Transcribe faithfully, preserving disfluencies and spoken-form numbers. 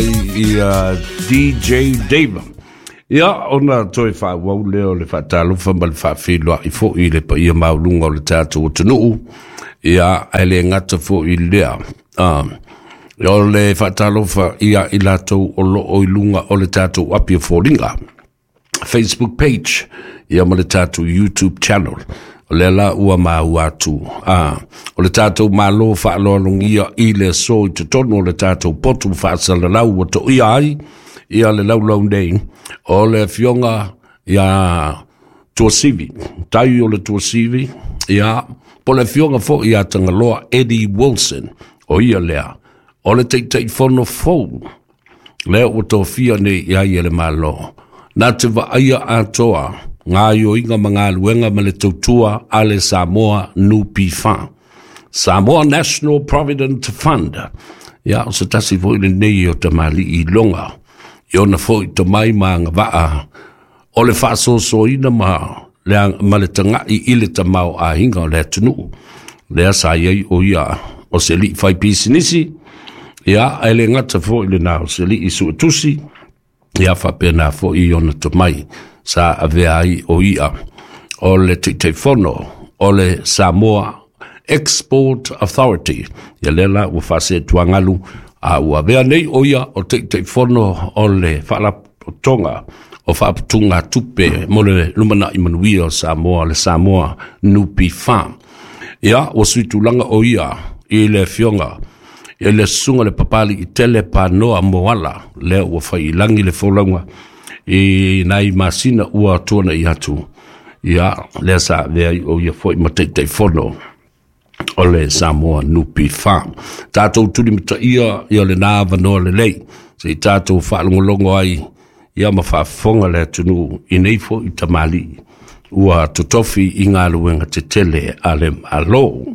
Ia D J Dave. Ia ona toe faaauau lea o le faatalofa ma le faafeiloai foi i le paia maualuga o le tatou atunuu. Ia ae le gata foi lea. Ah, o le faatalofa ia i latou o loo i luga o le tatou api o foliga, Facebook page, ia ma le tatou YouTube channel. O lea la ua maua atu. Ah, o le tatou malo faaloalogia i le aso i totonu o le tatou potu faasalalau ua toia ai ia le laulau nei o le afioga ia Tuasivi, tai o le Tuasivi, ia po le afioga foi ia Tagaloa Eddie Wilson, o ia lea o le Taitaifono fou lea ua tofia nei i ai e le Malo. Na te vaaia atoa gaoioiga ma galuega ma le tautua a le Samoa N P F, Samoa National Provident Fund. Ia, o se tasi foi lenei o tamalii i loga i ona foi tomai ma agavaa o le faasoasoaina ma le, ma le tagai i le tamao aiga o le atunuu. Lea sa i ai o ia o se alii fai pisinisi, ia ae le gata foi lena o se alii suetusi, ia faapena foi ona tomai sa avea ai o ia o le Taitaifono o le Samoa Export Authority. Ia lea la ua faasetuagalu a ua avea nei o ia o Taitaifono o le Faalapotopotoga o Faaputuga Tupe mo le Lumanai Manuia o Samoa, le Samoa N P F. Ia ua suitulaga o ia i le afioga i le susuga le papali i tele panoa moala lea ua faiilagi le folauga i nai masina ua tuanai atu. Ia lea sa avea ai o ia foi ma Taitaifono o le Samoa N P F. Tatou tulimataia ia lena avanoa lelei se i tatou faalogologo ai ia ma faafofoga le atunuu i nei foi tamalii ua totofi i galuega tetele a le Malo.